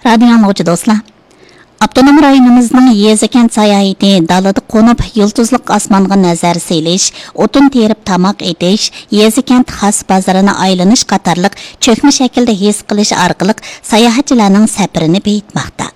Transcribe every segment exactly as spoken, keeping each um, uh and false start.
رادىيو ئاڭلىغۇچى دوستلار، ئاپتونوم رايونىمىزنىڭ يېزا-كەنت ساياھىتى دالىدا قونۇپ، يۇلتۇزلۇق ئاسمانغا نەزەر سېلىش، ئوتۇن تېرىپ تاماق ئېتىش، يېزا-كەنت خاس بازىرىنى ئايلىنىش قاتارلىق چۆكمە شەكىلدە ھېس قىلىش ئارقىلىق ساياھەتچىلەرنىڭ سەپىرىنى بېيىتماقتا.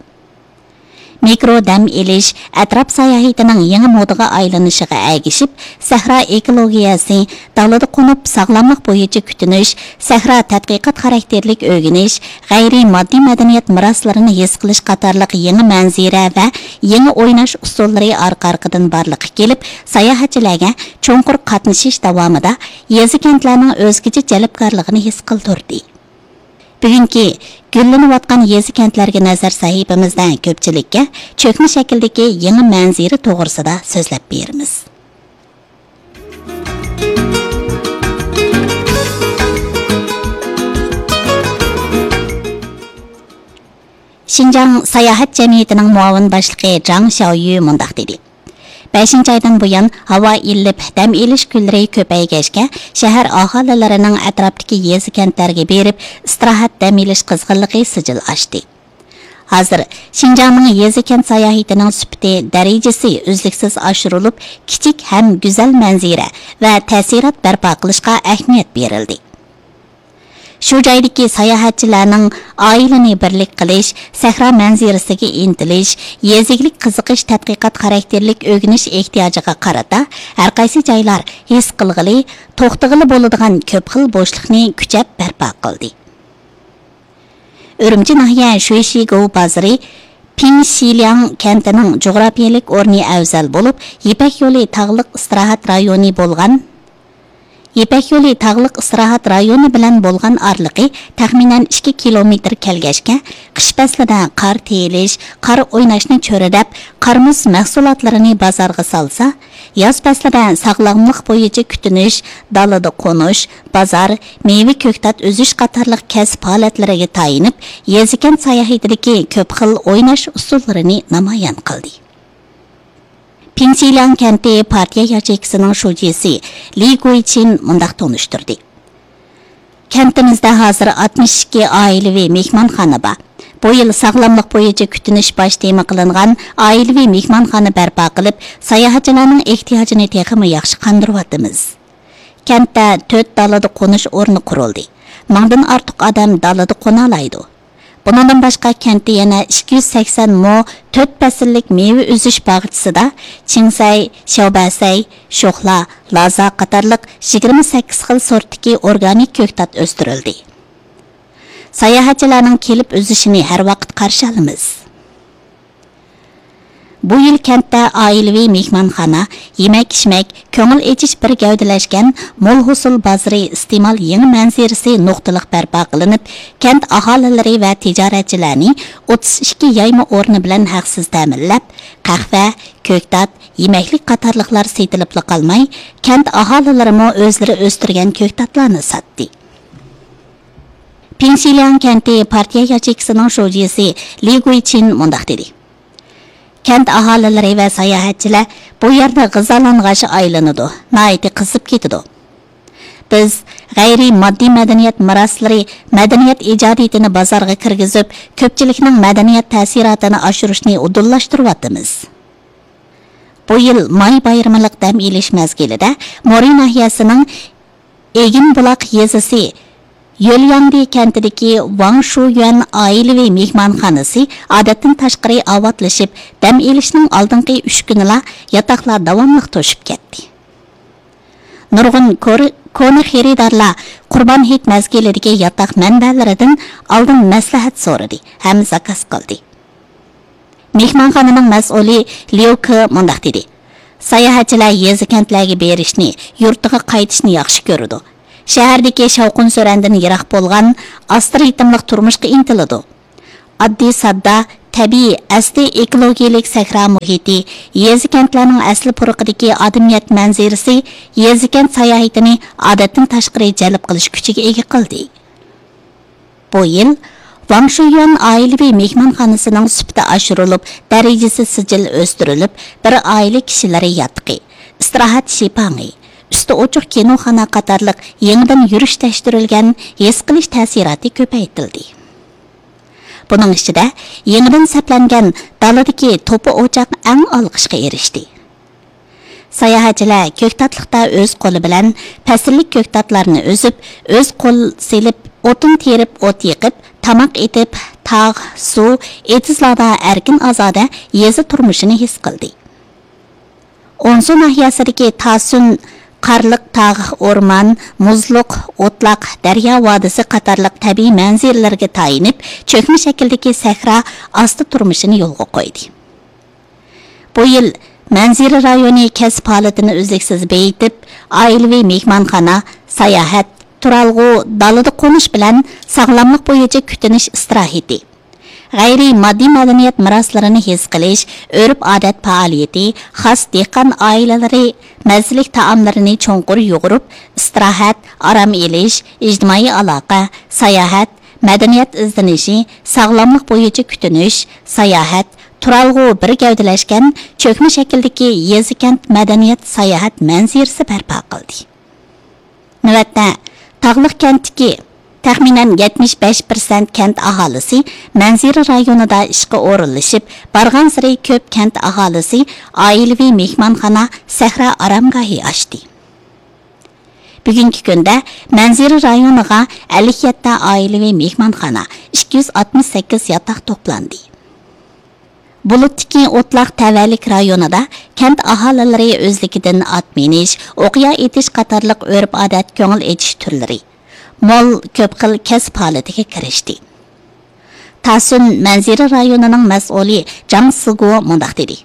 مىكرو دەم ئېلىش، ئەتراپ ساياھىتىنىڭ يېڭى مودىغا ئايلىنىشىغا ئەگىشىپ، سەھرا ئېكولوگىيەسى، دالىدا قونۇپ ساغلاملىق بويىچە كۈتۈنۈش، سەھرا تەتقىقات خاراكتېرلىك ئۆگىنىش، غەيرىي ماددىي مەدەنىيەت مىراسلىرىنى ھېس قىلىش قاتارلىق يېڭى مەنزىرە ۋە يېڭى ئويناش ئۇسۇللىرى ئارقا-ئارقىدىن بارلىققا كېلىپ، ساياھەتچىلەرگە چوڭقۇر قاتنىشىش داۋامىدا يېزا-كەنتلەرنىڭ ئۆزگىچە جەلپكارلىقىنى ھېس قىلدۇردى. بۈگۈنكى گۈللىنىۋاتقان يېزا-كەنتلەرگە نەزەر سەھىپىمىزدە كۆپچىلىككە چۆكمە شەكىلدىكى يېڭى مەنزىرە توغرىسىدا سۆزلەپ بېرىمىز. شىنجاڭ ساياھەت جەمئىيىتىنىڭ مۇئاۋىن باشلىقى جاڭ شياۋيۈ مۇنداق دېدى: بەشىنچى ئايدىن بۇيان ھاۋا ئىللىپ، دەم ئېلىش كۈنلىرى كۆپەيگەچكە، شەھەر ئاھالىلىرىنىڭ ئەتراپتىكى يېزا-كەنتلەرگە بېرىپ، ئىستىراھەت، دەم ئېلىش قىزغىنلىقى سىجىل ئاشتى. ھازىر شىنجاڭنىڭ يېزا-كەنت ساياھىتىنىڭ سۈپىتى، دەرىجىسى ئۈزلۈكسىز ئاشۇرۇلۇپ، كىچىك ھەم گۈزەل مەنزىرە ۋە تەسىرات بەرپا قىلىشقا ئەھمىيەت بېرىلدى. شۇ جايدىكى ساياھەتچىلەرنىڭ ئائىلىنى بىرلىك قىلىش، سەھرا مەنزىرىسىگە ئىنتىلىش، يېزا ئىگىلىك قىزىقىش تەتقىقات خاراكتېرلىك ئۆگىنىش ئېھتىياجىغا قارىتا، ھەرقايسى جايلار ھېس قىلغىلى، توختىغىلى بولىدىغان كۆپ خىل بوشلۇقنى كۈچەپ بەرپا قىلدى. ئۈرۈمچى ناھىيە شۇيشىگوۋ بازىرى پىڭشىلياڭ كەنتىنىڭ جۇغراپىيەلىك ئورنى ئەۋزەل بولۇپ، يىپەك يولى تاغلىق ئىستىراھەت رايونى بولغان، يىپەك يولى تاغلىق ئىستىراھەت رايونى بىلەن بولغان ئارىلىقى تەخمىنەن ئىككى كىلومېتىر كەلگەچكە، قىش پەسلىدە قار تېيىلىش، قار ئويناشنى چۆرىدەپ، قار مۇز مەھسۇلاتلىرىنى بازارغا سالسا، ياز پەسلىدە ساغلاملىق بويىچە كۈتۈنۈش، دالىدا قونۇش، بازار، مېۋە، كۆكتات ئۈزۈش قاتارلىق كەسىپ ھالەتلىرىگە تايىنىپ، يېزا-كەنت ساياھىتىدىكى كۆپ خىل ئويناش ئۇسۇللىرىنى نامايان قىلدى. پىڭشىلياڭ كەنتى پارتىيە ياچېيكىسىنىڭ شۇجىسى لى گۇيچىن مۇنداق تونۇشتۇردى: كەنتىمىزدە ھازىر ئاتمىش ئىككى ئائىلىۋى مېھمانخانا بار. بۇ يىل ساغلاملىق بويىچە كۈتۈنۈش باش تېما قىلىنغان ئائىلىۋى مېھمانخانا بەرپا قىلىپ، ساياھەتچىلەرنىڭ ئېھتىياجىنى تېخىمۇ ياخشى قاندۇرۇۋاتىمىز. كەنتتە تۆت دالىدا قونۇش ئورنى قۇرۇلدى. مىڭدىن ئارتۇق ئادەم دالىدا قونالايدۇ. بۇنىڭدىن باشقا، كەنتتە يەنە ئىككى يۈز سەكسەن مو تۆت پەسىللىك مېۋە ئۈزۈش باغچىسىدا چىڭسەي، شياۋبەسەي، شوخلا، لازا قاتارلىق يىگىرمە سەككىز خىل سورتتىكى ئورگانىك كۆكتات ئۆستۈرۈلدى. ساياھەتچىلەرنىڭ كېلىپ ئۈزۈشىنى ھەر ۋاقىت قارشى ئالىمىز. بۇ يىل كەنتتە ئائىلىۋى مېھمانخانا، يېمەك-ئىچمەك، كۆڭۈل ئېچىش بىر گەۋدىلەشكەن مول ھوسۇل بازىرى ئىستېمال يېڭى مەنزىرىسى نۇقتىلىق بەرپا قىلىنىپ، كەنت ئاھالىلىرى ۋە تىجارەتچىلەرنى ئوتتۇز ئىككى يايما ئورنى بىلەن ھەقسىز تەمىنلەپ، قەھۋە، كۆكتات، يېمەكلىك قاتارلىقلار سېتىلىپلا قالماي، كەنت ئاھالىلىرىمۇ ئۆزلىرى ئۆستۈرگەن كۆكتاتلارنى ساتتى. پىڭشىلياڭ كەنتى پارتىيە ياچېيكىسىنىڭ شۇجىسى لى گۇيچىن مۇنداق دېدى: كەنت ئاھالىلىرى ۋە ساياھەتچىلەر بۇ يەردە غىزالانغاچ ئايلىنىدۇ، ناھايىتى قىزىپ كېتىدۇ. بىز غەيرىي ماددىي مەدەنىيەت مىراسلىرى مەدەنىيەت ئىجادىيىتىنى بازارغا كىرگۈزۈپ، كۆپچىلىكنىڭ مەدەنىيەت تەسىراتىنى ئاشۇرۇشنى ئۇدۇللاشتۇرۇۋاتىمىز. بۇ يىل ماي بايرىمىلىق دەم ئېلىش مەزگىلىدە مورى ناھىيەسىنىڭ ئېگىنبۇلاق يېزىسى يۆلياڭدى كەنتىدىكى ۋاڭ شۇيۈەن ئائىلىۋى مېھمانخانىسى ئادەتتىن تاشقىرى ئاۋاتلىشىپ، دەم ئېلىشنىڭ ئالدىنقى ئۈچ كۈنىلا ياتاقلار داۋاملىق توشۇپ كەتتى. نۇرغۇن كور-، كونا خېرىدارلار قۇربان ھېيت مەزگىلىدىكى ياتاق مەنبەلىرىدىن ئالدىن مەسلىھەت سورىدى ھەم زاكاز قىلدى. مېھمانخانىنىڭ مەسئۇلى ليۇ كې مۇنداق دېدى: ساياھەتچىلەر يېزا-كەنتلەرگە بېرىشنى، يۇرتىغا قايتىشنى ياخشى كۆرىدۇ. شەھەردىكى شاۋقۇن-سۈرەندىن يىراق بولغان، ئاستا رىتىملىق تۇرمۇشقا ئىنتىلىدۇ. ئاددىي-ساددا، تەبىئىي، ئەسلىي ئېكولوگىيەلىك سەھرا مۇھىتى، يېزا-كەنتلەرنىڭ ئەسلى پۇرىقىدىكى ئادەمىيەت مەنزىرىسى يېزا-كەنت ساياھىتىنى ئادەتتىن تاشقىرى جەلپ قىلىش كۈچىگە ئىگە قىلدى. بۇ يىل ۋاڭ شۇيۈەن ئائىلىۋى مېھمانخانىسىنىڭ سۈپىتى ئاشۇرۇلۇپ، دەرىجىسى سىجىل ئۆستۈرۈلۈپ، بىر ئائىلە كىشىلىرى ياتىقى، ئىستىراھەت شىپاڭى، ئۈستى ئوچۇق كىنوخانا قاتارلىق يېڭىدىن يۈرۈشلەشتۈرۈلگەن ھېس قىلىش تەسىراتى كۆپەيتىلدى. بۇنىڭ ئىچىدە يېڭىدىن سەپلەنگەن دالىدىكى توپا ئوچاق ئەڭ ئالقىشقا ئېرىشتى. ساياھەتچىلەر كۆكتاتلىقتا ئۆز قولى بىلەن پەسىللىك كۆكتاتلارنى ئۈزۈپ، ئۆز قول سېلىپ، ئوتۇن تېرىپ، ئوت يېقىپ، تاماق ئېتىپ، تاغ، سۇ، ئېتىزلاردا ئەركىن-ئازادە يېزا تۇرمۇشىنى ھېس قىلدى. ئونسۇ ناھىيەسىدىكى تاسۈن قارلىق تاغ، ئورمان، مۇزلۇق، ئوتلاق، دەريا ۋادىسى قاتارلىق تەبىئىي مەنزىرىلەرگە تايىنىپ، چۆكمە شەكىلدىكى سەھرا ئاستا تۇرمۇشىنى يولغا قويدى. بۇ يىل مەنزىرە رايونى كەسىپ ھالىتىنى ئۈزلۈكسىز بېيىتىپ، ئائىلىۋى مېھمانخانا، ساياھەت، تۇرالغۇ، دالىدا قونۇش بىلەن ساغلاملىق بويىچە كۈتۈنۈش ئىستىراھىتى، غەيرىي ماددىي مەدەنىيەت مىراسلىرىنى ھېس قىلىش، ئۆرپ-ئادەت پائالىيىتى، خاس دېھقان ئائىلىلىرى مەززىلىك تائاملىرىنى چوڭقۇر يۇغۇرۇپ، ئىستىراھەت، ئارام ئېلىش، ئىجتىمائىي ئالاقە، ساياھەت، مەدەنىيەت ئىزدىنىشى، ساغلاملىق بويىچە كۈتۈنۈش، ساياھەت، تۇرالغۇ بىر گەۋدىلەشكەن چۆكمە شەكىلدىكى يېزا-كەنت مەدەنىيەت ساياھەت مەنزىرىسى بەرپا قىلدى. نۆۋەتتە، تاغلىق كەنتتىكى تەخمىنەن يەتمىش بەش پىرسەنت كەنت ئاھالىسى مەنزىرە رايونىدا ئىشقا ئورۇنلىشىپ، بارغانسېرى كۆپ كەنت ئاھالىسى ئائىلىۋى مېھمانخانا، سەھرا ئارامگاھى ئاچتى. بۈگۈنكى كۈندە مەنزىرە رايونىغا ئەللىك يەتتە ئائىلىۋى مېھمانخانا، ئىككى يۈز ئاتمىش سەككىز ياتاق توپلاندى. بۇلۇتتىكى ئوتلاق تەۋەلىك رايونىدا كەنت ئاھالىلىرى ئۆزلۈكىدىن ئات مىنىش، ئوقيا ئېتىش قاتارلىق ئۆرپ-ئادەت، كۆڭۈل ئېچىش تۈرلىرى، مول كۆپ خىل كەسىپ ھالىتىگە كىرىشتى. تاسۈن مەنزىرە رايونىنىڭ مەسئۇلى جاڭ سىگۇ مۇنداق دېدى: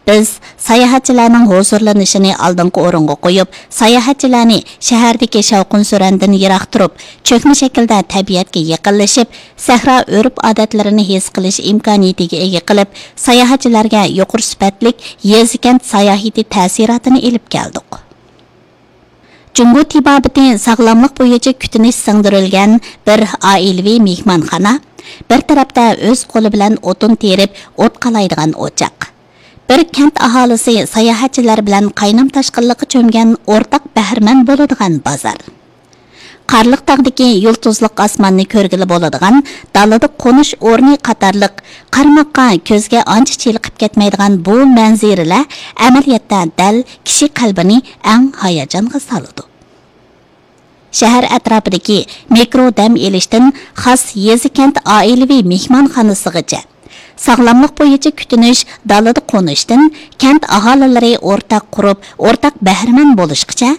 بىز ساياھەتچىلەرنىڭ ھۇزۇرلىنىشىنى ئالدىنقى ئورۇنغا قويۇپ، ساياھەتچىلەرنى شەھەردىكى شاۋقۇن-سۈرەندىن يىراق تۇرۇپ، چۆكمە شەكىلدە تەبىئەتكە يېقىنلىشىپ، سەھرا ئۆرپ-ئادەتلىرىنى ھېس قىلىش ئىمكانىيىتىگە ئىگە قىلىپ، ساياھەتچىلەرگە يۇقىرى سۈپەتلىك يېزا-كەنت ساياھىتى تەسىراتىنى ئېلىپ كەلدۇق. جۇڭگو تېبابىتى ساغلاملىق بويىچە كۈتۈنۈش سىڭدۈرۈلگەن بىر ئائىلىۋى مېھمانخانا، بىر تەرەپتە ئۆز قولى بىلەن ئوتۇن تېرىپ ئوت قالايدىغان ئوچاق، بىر كەنت ئاھالىسى ساياھەتچىلەر بىلەن قاينام-تاشقىنلىققا چۆمگەن ئورتاق بەھرىمەن بولىدىغان بازار، قارلىق تاغدىكى يۇلتۇزلۇق ئاسماننى كۆرگىلى بولىدىغان دالىدا قونۇش ئورنى قاتارلىق قارىماققا كۆزگە ئانچە چېلىقىپ كەتمەيدىغان بۇ مەنزىرىلەر ئەمەلىيەتتە دەل كىشى قەلبىنى ئەڭ ھاياجانغا سالىدۇ. شەھەر ئەتراپىدىكى مىكرو دەم ئېلىشتىن خاس يېزا-كەنت ئائىلىۋى مېھمانخانىسىغىچە، ساغلاملىق بويىچە كۈتۈنۈش، دالىدا قونۇشتىن كەنت ئاھالىلىرى ئورتاق قۇرۇپ، ئورتاق بەھرىمەن بولۇشقىچە،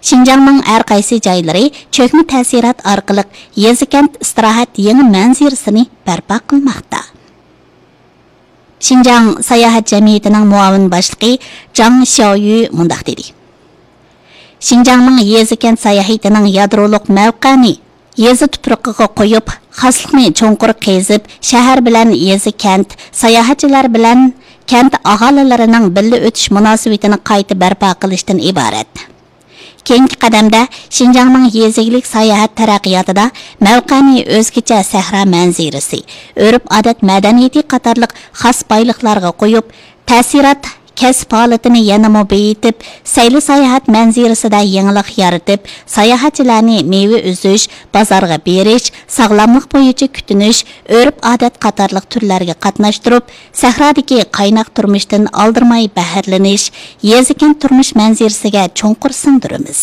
شىنجاڭنىڭ ھەر قايسى جايلىرى چۆكمە تەسىرات ئارقىلىق يېزا-كەنت ئىستىراھەت يېڭى مەنزىرىسىنى بەرپا قىلماقتا. شىنجاڭ ساياھەت جەمئىيىتىنىڭ مۇئاۋىن باشلىقى جاڭ شياۋيۈ مۇنداق دېدى: شىنجاڭنىڭ يېزا-كەنت ساياھىتىنىڭ يادرولۇق مەۋقەنى يېزا تۇپرىقىغا قويۇپ، خاسلىقنى چوڭقۇر قېزىپ، شەھەر بىلەن يېزا-كەنت، ساياھەتچىلەر بىلەن كەنت ئاھالىلىرىنىڭ بىللە ئۆتۈش مۇناسىۋىتىنى قايتا بەرپا قىلىشتىن ئىبارەت. كېيىنكى قەدەمدە شىنجاڭنىڭ يېزا ئىگىلىك ساياھەت تەرەققىياتىدا مەۋقەنى ئۆزگىچە سەھرا مەنزىرىسى، ئۆرپ-ئادەت مەدەنىيىتى قاتارلىق خاس بايلىقلارغا قويۇپ، تەسىرات كەسىپ ھالىتىنى يەنىمۇ بېيىتىپ، سەيلە ساياھەت مەنزىرىسىدە يېڭىلىق يارىتىپ، ساياھەتچىلەرنى مېۋە ئۈزۈش، بازارغا بېرىش، ساغلاملىق بويىچە كۈتۈنۈش، ئۆرپ-ئادەت قاتارلىق تۈرلەرگە قاتناشتۇرۇپ، سەھرادىكى قايناق تۇرمۇشتىن ئالدىرىماي بەھرىلىنىش، يېزا-كەنت تۇرمۇش مەنزىرىسىگە چوڭقۇر سىڭدۈرىمىز.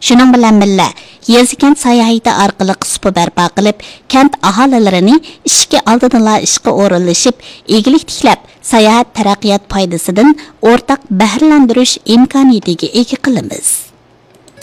شۇنىڭ بىلەن بىللە، يېزا-كەنت ساياھىتى ئارقىلىق سۇپا بەرپا قىلىپ، كەنت ئاھالىلىرىنى ئىشىكى ئالدىدىلا ئىشقا ئورۇنلىشىپ، ئىگىلىك تىكلەپ، ساياھەت تەرەققىيات پايدىسىدىن ئورتاق بەھرىلەندۈرۈش ئىمكانىيىتىگە ئىگە قىلىمىز.